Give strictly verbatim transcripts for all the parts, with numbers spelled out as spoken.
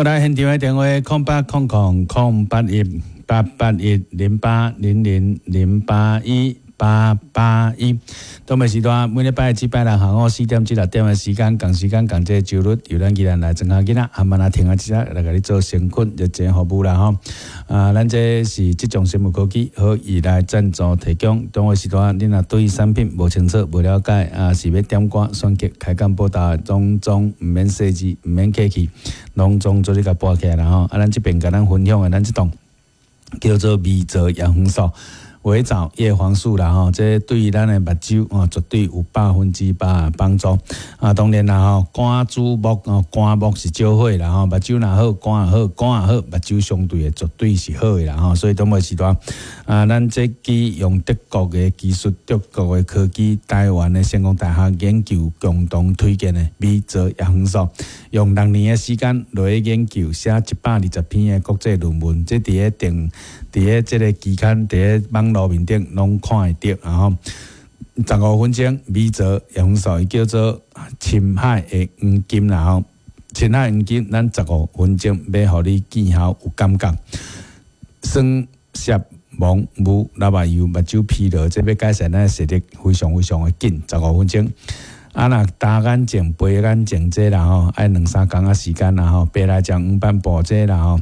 好來，現場的電話空八空空空八一八八一零八零零零八一八八一。東北時段每禮拜至拜六下午四點至六點的時間，仝時間仝這個週日，由咱宜蘭來莊下囡仔，阿曼啊停啊，這來共你做善款熱情服務啦吼。啊，咱這是這種生物科技好意來贊助提供。中午時段，你若對產品無清楚、無了解，啊，是欲點歌、選曲、開講報道，攏總毋免細緻，毋免客氣，攏總做你共撥起來啦吼。啊，咱這邊共咱分享的，咱這檔叫做微藻葉黃素。微藻葉黃素啦吼，這對咱的目睭哦，絕對有百分之百的幫助。啊，當然啦吼，肝主目哦，肝木是少火啦吼，目睭若好，肝也好，肝也好，目睭相對的絕對是好的啦吼。所以當尾時段啊，咱這支用德國的技術、德國的科技、台灣的成功大學研究共同推薦的微藻葉黃素，用六年的時間來研究，寫一百二十篇的國際論文，這佇咧定佇咧這个期刊，佇咧網路面頂攏看會著，然後十五分鐘微藻葉黃素，伊叫做深海的黃金啦吼，深海黃金，咱十五分鐘欲予你見效有感覺，酸澀蒙霧流目油、目睭疲勞，這欲改善咱的視力非常非常的緊，十五分鐘。啊，若焦眼症、白眼症這啦吼，愛兩三工仔時間啦吼，白內障、黃斑部這啦吼。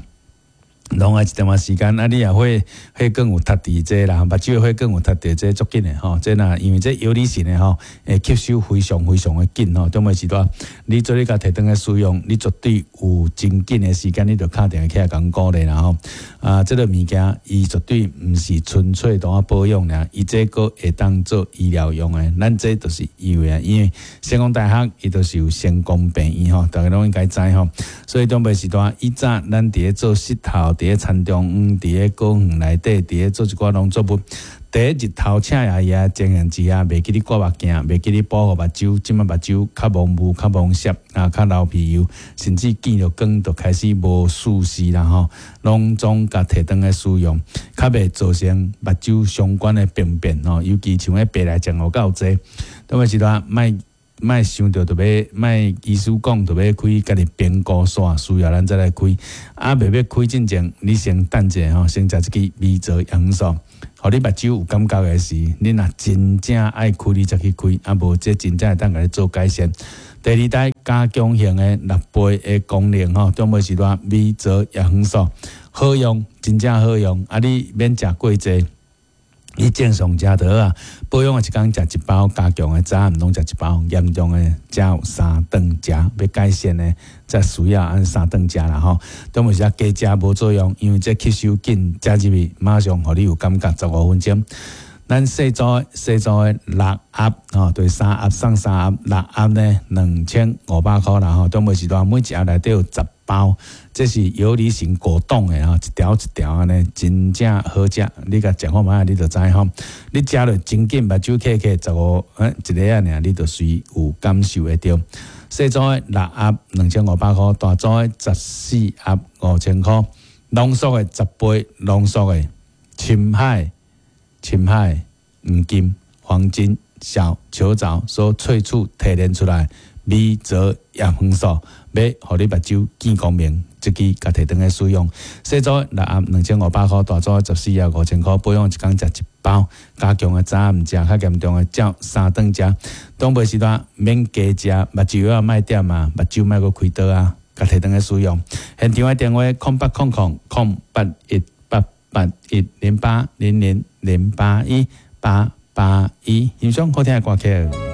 攏愛一點仔時間，啊！你若血血管有塞佇這啦，目睭血管有塞佇這足緊的吼，這若因為這游離性的吼，會吸收非常非常的緊吼。中尾時段，你做你共提轉來使用，你絕對有真緊的時間，你就敲電話起來共鼓勵啦吼。啊，這个物件伊絕對毋是純粹當保養爾，伊這閣會當做醫療用的。咱這就是因為啊，因為成功大學伊就是有成功病院吼，大家攏應該知吼。所以中尾時段，以前咱佇咧做穡頭，佇咧田中央，佇咧果園內底，佇咧做一寡農作物，第一日頭赤炎炎情形之下，袂記你掛目鏡，袂記你保護目睭，這擺目睭較蒙霧、較蒙澀啊，較流鼻油，甚至見著光就開始無視視啦吼，攏總共提轉來使用，較袂造成目睭相關的病變吼，尤其像彼白內障有夠濟，當時陣莫莫想著就欲，莫醫師講就欲開家己評估煞，需要咱再來開。啊，袂欲開進前，你先等者吼，先食這支微藻葉黃素，予你目睭有感覺的時，你若真正愛開，你才去開，啊無這真正會當共你做改善。第二代加強型的六倍的功能吼，中尾時段微藻葉黃素好用，真正好用。啊，你免食過濟。你正常食就好啊，保養的一工食一包，加強的早暗攏食一包，嚴重的才有三頓食，欲改善的才需要按三頓食啦吼。中尾時啊加食無作用，因為這吸收緊，食入去馬上予你有感覺，十五分鐘。咱細組細組的六盒吼，對三盒送三盒，六盒呢兩千五百箍啦吼。中尾時段每一盒內底有十包，這是游離型果凍的吼，一條一條按呢，真正好食。你共食看覓，你就知吼。你食落真緊，目睭瞌瞌十五，欸，一个仔爾，你就隨有感受會著。細組的六盒兩千五百箍，大組的十四盒五千箍，濃縮的十倍濃縮的深海深海黃金黃金小球藻所萃取提煉出來微藻葉黃素，欲予你目睭見光明，這支共提轉來使用。細組六盒兩千五百箍，大組十四盒五千箍，保養一工食一包，加強的早暗食，較嚴重的照三頓食。當尾時段免加食，目睭藥莫點啊，目睭莫閣開刀啊，共提轉來使用。現場的電話：空八空空空八一八八一零八零零零八一八八一，欣賞好聽的歌曲。